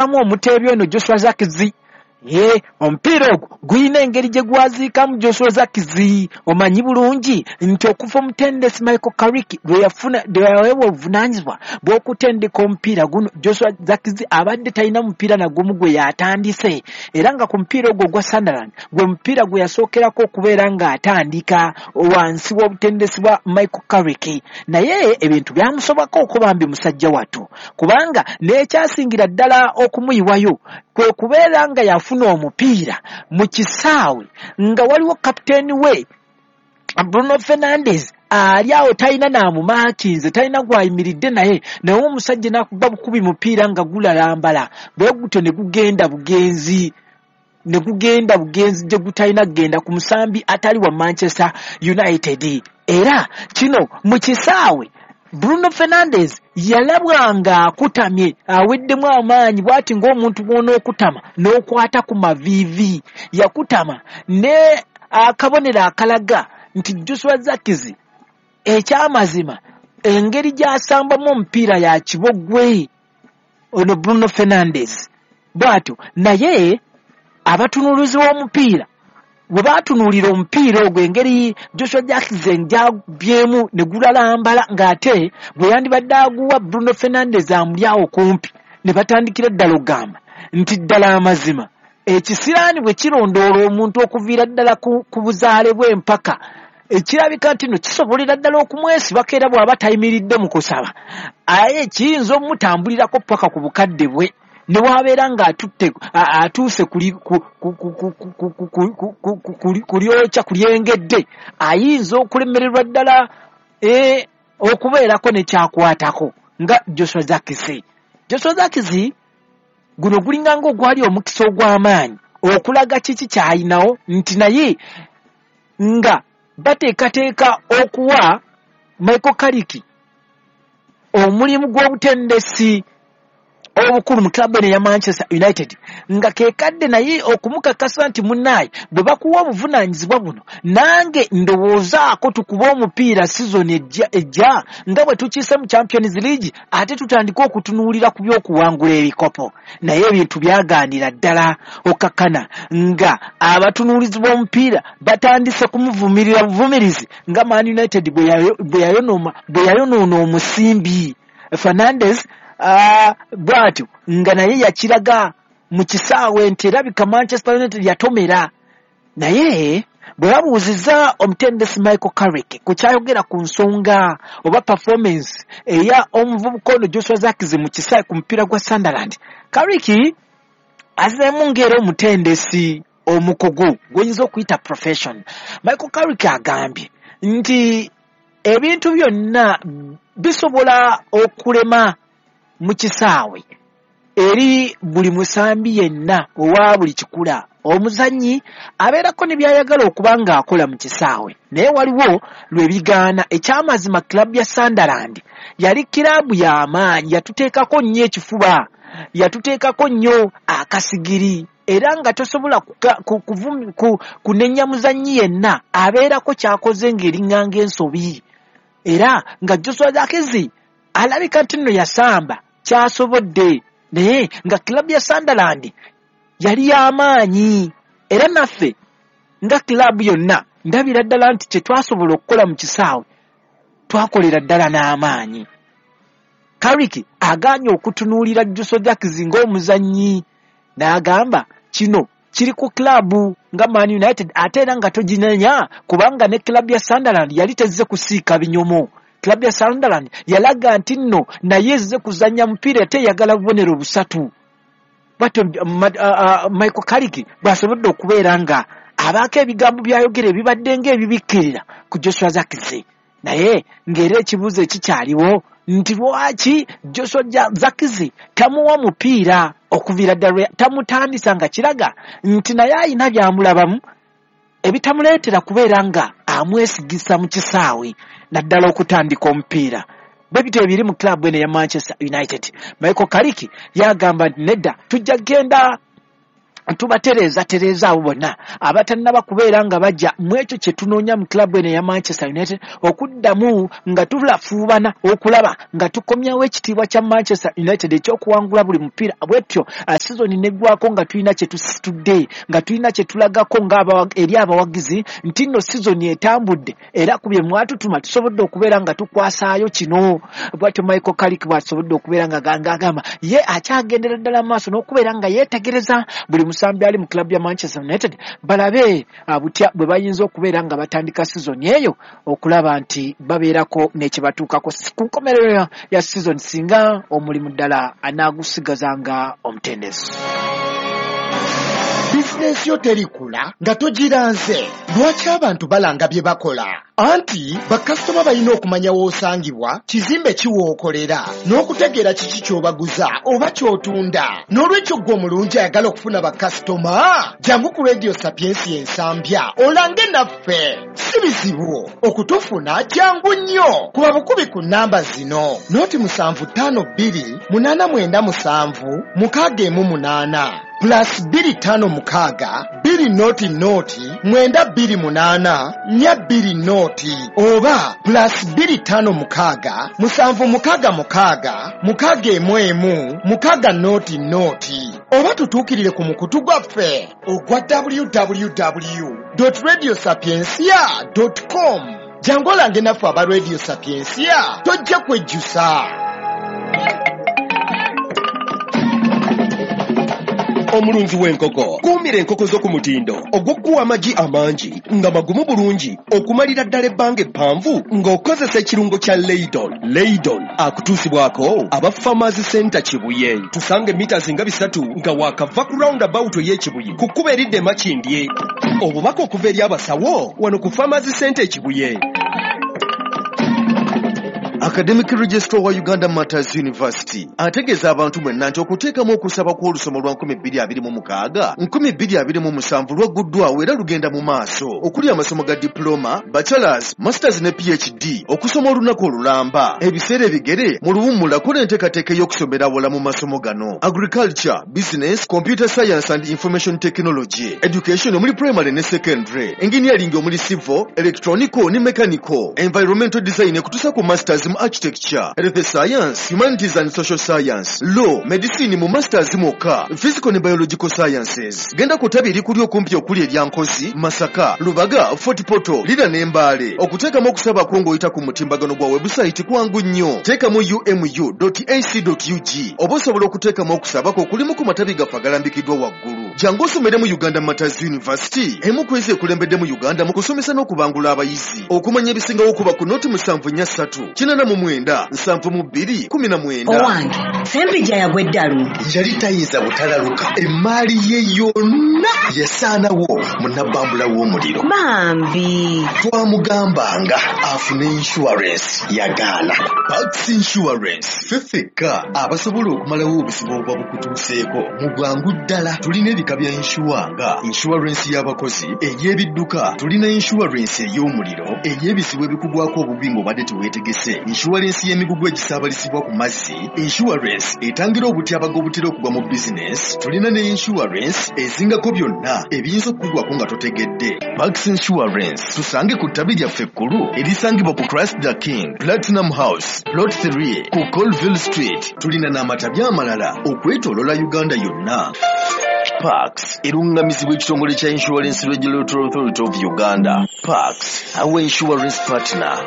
Omuteebi ono Joshua Zirkzee, ye omupiira ogwo gulina engeri gye gwaziikamu Joshua Zirkzee. Omanyi bulungi nti okuva omutendesi Michael Carrick lwe yafuna, lwe yaweebwa obuvunaanyizibwa bw'okutendeka omupiira guno, Joshua Zirkzee abadde talina mupiira na gumu gwe yatandise, era nga ku mupiira ogwo ogwa Sunderland gwe mupiira gwe yasookerako okubeera ng'atandika wansi w'obutendesi bwa Michael Carrick. Naye ebintu byamusobako okubambi musajja wattu, kubanga n'ekyasingira ddala okumuyiwayo kwe kubeera nga yafuna omupiira mu kisaawe nga waliwo kapiteeni we Bruno Fernandes ali awo, talina naamumaakinze, talina gwayimiridde naye, naye omusajja n'akuba bukubi mupiira nga gulalambala bwe gutyo ne gugenda bugenzi, ne gugenda bugenzi gye gutalina kugenda ku musambi atali wa Manchester United. Era kino mu kisaawe Bruno Fernandes yalabwa ng'akutamye, aweddemu amaanyi bw'ati ng'omuntu bw'onookutama n'okwata ku maviivi. Yakutama ne akabonero akalaga nti Joshua Zirkzee ekyamazima engeri gy'asambamu omupiira ya kibogwe ono Bruno Fernandes bw'atyo. Naye abatunuulizi b'omupiira bwe baatunuulira omupiira ogwo, engeri Joshua Zirkzee gy'agubyemu ne gulalambala ng'ate gwe yandibadde aguwa Bruno Fernandes amuli awo kumpi, ne batandikira ddala okugamba nti ddala amazima ekisiraani bwe kirondoola omuntu okuviira ddala ku buzaale bw'empaka, ekirabika nti no kisobolera ddala okumwesibako, era bw'aba tayimiridde mu kusaba aye kiyinza omutambulirako paka ku bukadde bwe, ne wabeera ng'atutte atuuse kulyokya kulyengedde, ayinza okulemererwa ddala okubeerako ne kyakwatako nga Joshua Zirkzee. Joshua Zirkzee guno gulinga ng'ogwali omukisa ogw'amaanyi okulaga kiki ky'alinawo, nti naye nga bateekateeka okuwa Michael Carrick omulimu gw'obutendesi obukulu mu club eno eya Manchester United, nga kekadde naye okumukakasa nti munnaaye bwe bakuwa obuvunaanyizibwa buno, nange ndowoozaako tukube omupiira season ejja nga bwe tukiise mu Champions League, ate tutandike okutunuulira ku by'okuwangula ebikopo. Naye ebintu byagaanira ddala okkakkana nga abatunuulizi b'omupiira batandise kumuvumirira buvumirizi nga Man United bwe yayonoona omusimbi Fernandes. Bw'atyo nga naye yakiraga mu kisaawe nti erabika Manchester United yatomera. Naye bwe babuuzizza omutendesi Michael Carrick ku kyayogera ku nsonga oba performance eya omuvubuka ono Joshua Zirkzee mu kisaawe ku mupiira gwa Sunderland, Carrick azeemu ng'era omutendesi omukugu gw'oyinza okuyita profession. Michael Carrick agambye nti ebintu byonna bisobola okulema mu kisaawe eri buli musambi yenna owa buli kikula. Omuzannyi abeerako ne by'ayagala okuba ng'akola mu kisaawe, naye waliwo lwe bigaana. Ekyamazima club ya Sunderland yali kiraabu y'amaanyi, yatuteekako nnyo ekifuba, yatuteekako nnyo akasigiri, era nga tosobola kunenya muzannyi yenna abeerako ky'akoze ng'eriŋŋanga ensobi. Era nga Joshua Zirkzee alabika nti nno yasamba kyasobodde, naye nga club ya Sunderland yali y'amaanyi, era naffe nga club yonna ndabira ddala nti kye twasobola okukola mu kisaawe twakolera ddala n'amaanyi. Carrick agaanye okutunuulira Joshua Zirkzee ng'omuzannyi, n'agamba kino kiri ku club nga Man United, ate era nga toginenya kubanga ne club ya Sunderland yali tezze kusiika binyomo. Club ya Sunderland yalaga nti nno naye ezze kuzannya mupiira ate eyagala bubonero busatu. Bw'atyo Michael Carrick bw'asobodde okubeera nga abaako ebigambo by'ayogera ebibadde ng'ebibikkirira ku Joshua Zirkzee. Naye ng'era ekibuuzo ekikyaliwo nti lwaki Joshua Zirkzee tamuwa mupiira okuviira ddala tamutandisa, nga kiraga nti naye ayina by'amulabamu ebitamuleetera kubeera nga amwesigisa mu kisaawe, naddala okutandika omupiira. Bwe bityo ebiri mu club eno eya Manchester United. Michael Carrick yagamba nti nedda, tujja kugenda Tubatereeza tereeza abo bonna abatannaba kubeera nga bajja mu ekyo kye tunoonya mu club eno eya Manchester United, okuddamu nga tulafuubana okulaba nga tukomyawo ekitiibwa kya Manchester United ekyokuwangula buli mupiira. Bwetyo sizoni neggwako nga tulina kye tusitudde, nga tulina kye tulagako nga eri abawagizi nti nno sizoni etambudde era ku bye mwatutuma tusobodde okubeera nga tukwasaayo kino. Bwatyo Michael Carrick bw'asobodde okubeera nga agamba ye akyagendera ddala maaso n'okubeera nga yeetegereza buli musambi ali mu club ya Manchester United, balabe butya bwe bayinza okubeera nga batandika sizoni eyo okulaba nti babeerako n'ekibatuukako ku nkomerero ya sizoni singa omulimu ddala anaagusigaza nga omutendesi. Bizinensi yo terikula nga togiranze. Lwaki abantu balanga bye bakola? Anti bakasitoma balina okumanya w'osangibwa, kizimbe ki w'okolera, n'okutegeera kiki ky'obaguza oba ky'otunda. N'olwekyo ggwe omulungi ayagala okufuna bakasitoma, jangu ku Radio Sapiensia Ensambya olange naffe. Si bizibu okutufuna, jangu nnyo. Kuba bukubi ku nnamba zino: 0 752 897 618, +256 200 928 420, oba +256 766 611 600, oba tutuukirire ku mukutu gwaffe ogwa www.radiosapiencia.com. Jangu olange naffe aba Radio Sapiencia, tojja kwejjusa. Omulunzi w'enkoko, kuumira enkoko zo ku mutindo ogw'okuwa amagi amangi nga magumu bulungi okumalira ddala ebbanga eppanvu ng'okozesa ekirungo kya Leidon. Leidon akutuusibwako aba Farmers Center Kibuye. Tusanga emita nga 3 nga waakava ku roundabout ey'Ekibuye ku kkubo eridda e Makindye. Obubaka okuva eri abasawo wano ku Farmers Center Ekibuye. Academic Registrar wa Uganda Martyrs University ategeeza abantu mwenna nti okuteekamu okusaba kw'olusoma lwa 2026 2027 lwagguddwawo era lugenda mu maaso, okuli amasomo ga diploma, bachelors, masters ne PhD, okusoma olunaku olulamba, ebiseera ebigere mu luwummula. Kola enteekateeka ey'okusomera awala mu masomo gano: agriculture, business, computer science and information technology, education omuli primary ne secondary, engineering omuli civil, electronical ne mechanical, environmental design ekutuusa ku masters mu architecture, health science, humanities and social science, law, medicine mu masters mwokka, physical ne biological sciences. Genda ku ttabi erikuli okumpi okuli erya Nkozi, Masaka, Lubaga, Fort Portal, Lira ne Mbaale. Okuteekamu okusaba kwo ng'oyita ku mutimbagano gwa webusayiti kwangu nnyo. Teekamu umu.ac.ug oba osobola okuteekamu okusaba kwo kulimu ku matabi gaffe agalambikiddwa waggulu. Jangu osomere mu Uganda Martyrs University, emu ku ezo ekulembedde mu Uganda mu kusomesa n'okubangula abayizi. Okumanya ebisingawo, kuba ku 074 89 72 19. Owange Sempijja yagwa eddalu. Yali tayinza butalaluka, emaali ye yonna yasaanawo mu nabbambula w'omuliro. Bambi. Twamugambanga afune insurance, yagaana. Pax Insurance, ffe ffekka abasobola okumalawo obuzibu obuba bukutuuseeko mu bwangu ddala. Tulina ebika bya insure nga insurance y'abakozi, ey'ebidduka, tulina insurance ey'omuliro, ey'ebizibu ebikugwako obubi ng'obadde teweetegese, insurance y'emigugu egisaabalizibwa ku mazzi, insurance etangira obutyabaga obutera okugwa mu bizinesi. Tulina ne insurance ezingako byonna ebiyinza okukugwako nga totegedde. Pax Insurance, tusange ku ttabi lyaffe ekkulu erisangibwa ku Christ the King Platinum House, Plot 3, ku Colville Street. Tulina n'amatabi amalala okwetoolola Uganda yonna. Pax eruŋŋamizibwa ekitongole kya Insurance Regulatory Authority of Uganda. Pax, our insurance partner.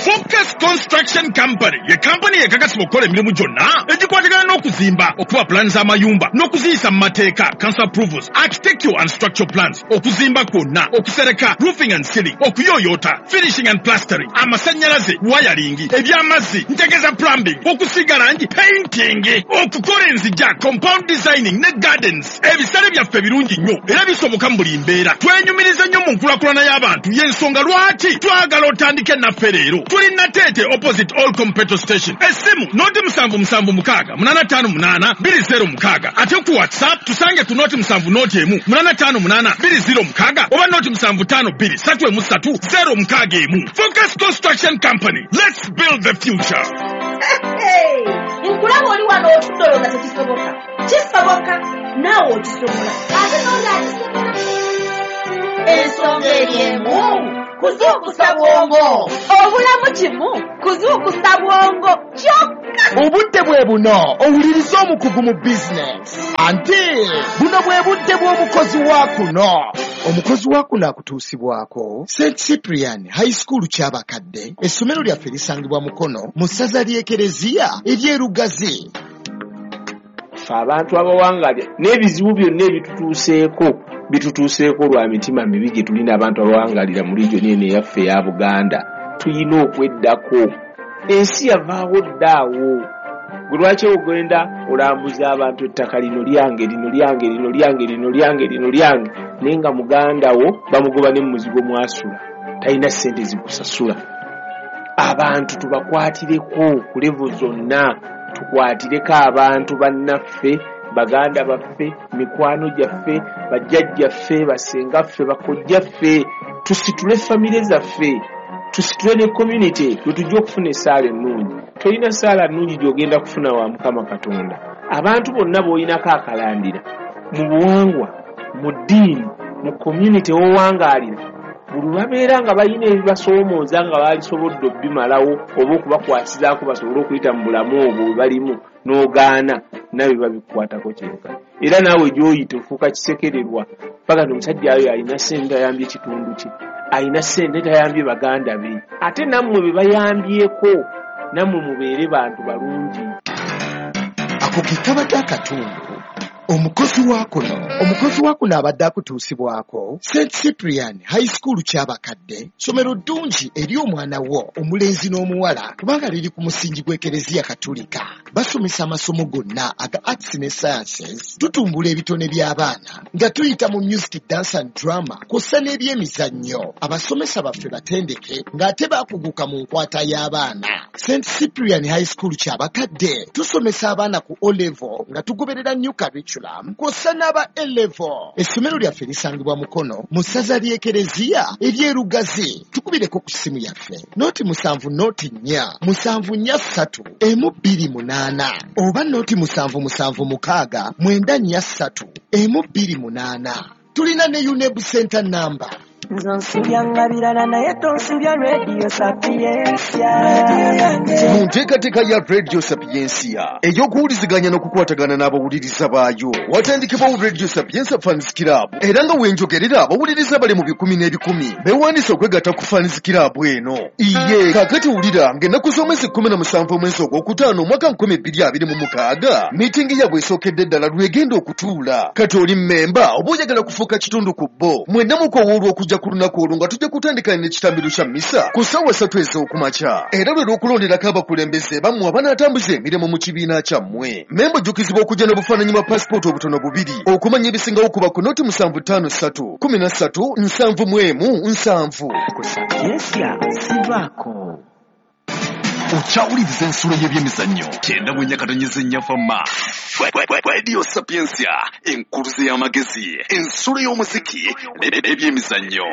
Focus Construction Company ye kampani ekakasibwa okukola emirimu gyonna egikwatagana n'okuzimba, okuba pulaani z'amayumba n'okuziyisa mu mateeka, council approvals, architectural and structural plans, okuzimba kwonna, okusereka, roofing and ceiling, okuyooyoota, finishing and plastering, amasannyalaze, wiring, ebyamazzi, ntegeza plumbing, okusiiga langi, painting, okukola enzija, compound designing ne gardens. Ebisale byaffe birungi nnyo era bisoboka mu buli mbeera. Twenyumiriza nnyo mu nkulaakulana y'abantu, y'ensonga lwaki twagala otandike naffe leero. Tuli Nateete, opposite All Petrol Station. Essimu 077 685 826. Ate ku WhatsApp tusange ku 071 858 206 oba 075 2 3 3 061. Focus Construction Company, let's build the future. Nkwagala. Nkulaba oli wano otudde olowooza tekisoboka. Kisoboka, naawe okisobola. Ate n'oli akisobola. Ensonga eri emu, kuzuukusa bwongo. Obulamu kimu, kuzuukusa bwongo kyokka. Obudde bwe buno owuliriza omukugu mu bizinesi. Anti buno bwe budde bw'omukozi wa kuno. Omukozi wa kuno akutuusibwako St Cyprian High School Kyabakadde. Essomero lyaffe lisangibwa Mukono mu ssaza ly'Ekereziya ery'e Lugazi. Ffe abantu abawangalya n'ebizibu byonna ebitutuuseeko bitutuuseeko lwa mitima mibi gye tulina. Abantu abawangalira mu region eno eyaffe eya Buganda tuyina okweddako. Ensi yavaawo ddaawo. Gwe lwaki ogenda olambuza abantu ettaka lino lyange, lino lyange, lino lyange, lino lyange, lino lyange, naye nga muganda wo bamugoba ne mumuzigo mwasula, talina ssente zikusasula? Abantu tubakwatireko ku level zonna, tukwatireko abantu bannaffe, baganda baffe, mikwano gyaffe, bajjajjaffe, basengaffe, bakojjaffe. Tusitule famire zaffe, tusitule ne community, lwe tujja okufuna essaala ennungi. Tolina ssaala nnungi gy'ogenda kufuna wa Mukama Katonda. Abantu bonna b'olinako akalandira mu buwangwa, mu ddiini, mu community w'owangaalira, buli babeera nga balina ebibasoomooza nga baalisobodde obbimalawo oba okubakwasizaako basobole okuyita mu bulamu obwo bwe balimu, n'ogaana, nawe babikukwatako kyenkana. Era naawe gy'oyita ofuuka kisekererwa paka nti omusajja ayo alina ssente, ayambye ekitundu kye, alina ssente, tayambye baganda be. Ate nammwe be bayambyeko, nammwe mubeere bantu balungi. Ako ke kabadde akatundu omukozi wa kuno. Omukozi wa kuno abadde akutuusibwako St Cyprian High School Kyabakadde. Ssomero ddungi eri omwana wo omulenzi n'omuwala kubanga liri ku musingi gw'Ekereziya Katulika. Basomesa amasomo gonna aga arts ne sciences. Tutumbula ebitone by'abaana nga tuyita mu music, dance and drama kw'ossa n'ebyemizannyo. Abasomesa baffe batendeke ng'ate bakuguka mu nkwata y'abaana. St Cyprian High School Kyabakadde tusomesa abaana ku O level nga tugoberera new curriculum kw'ossa n'aba A level. Essomero lyaffe lisangibwa Mukono mu ssaza ly'Ekereziya ery'e Lugazi. Tukubireko ku ssimu yaffe 0 7 0 4 7 4 3 1 2 8 oba 0 7 7 6 9 4 3 1 2 8. Tulina ne UNEB center number. Nze onsubya birala naye tonsubya Radio Sapiensia. Mu nteekateeka ya Radio Sapiensia ey'okuwuliziganya n'okukwatagana n'abawuliriza baayo, watandikibwawo Radio Sapiensia Fans Club, era nga wenjogerera abawuliriza bali mu bikumi n'ebikumi beewandiisa okwegatta ku Fans Club eno. Iye kaakati wulira ng'ennaku z'omwezi 17 omwezi ogwokutaano omwaka 2026 miitingi yaabwe esookedde ddala lwegenda okutuula. Kati oli mmemba oba oyagala kufuuka kitundu ku bo, mwenna mukowoolwa okujja ku lunaku olwo nga tujja kutandika n'ekitambiro kya misa ku ssaawa 3 ez'okumakya, era lwe lw'okulonderako abakulembeze bammwe abanaatambuza emirimu mu kibiina kyammwe. Memba ojjukizibwa okujja n'obufaananyi bwa pasipooti obutono bubiri. Okumanya ebisingawo kuba ku 0 7 5 3 13 71 7. Ku Sapiensia sivaako. Okyawuliriza ensulo y'ebyemizannyo 94.4 fama Radio Sapiensia, enkuluze y'amagezi, ensulo y'omuziki n'ebyemizannyo.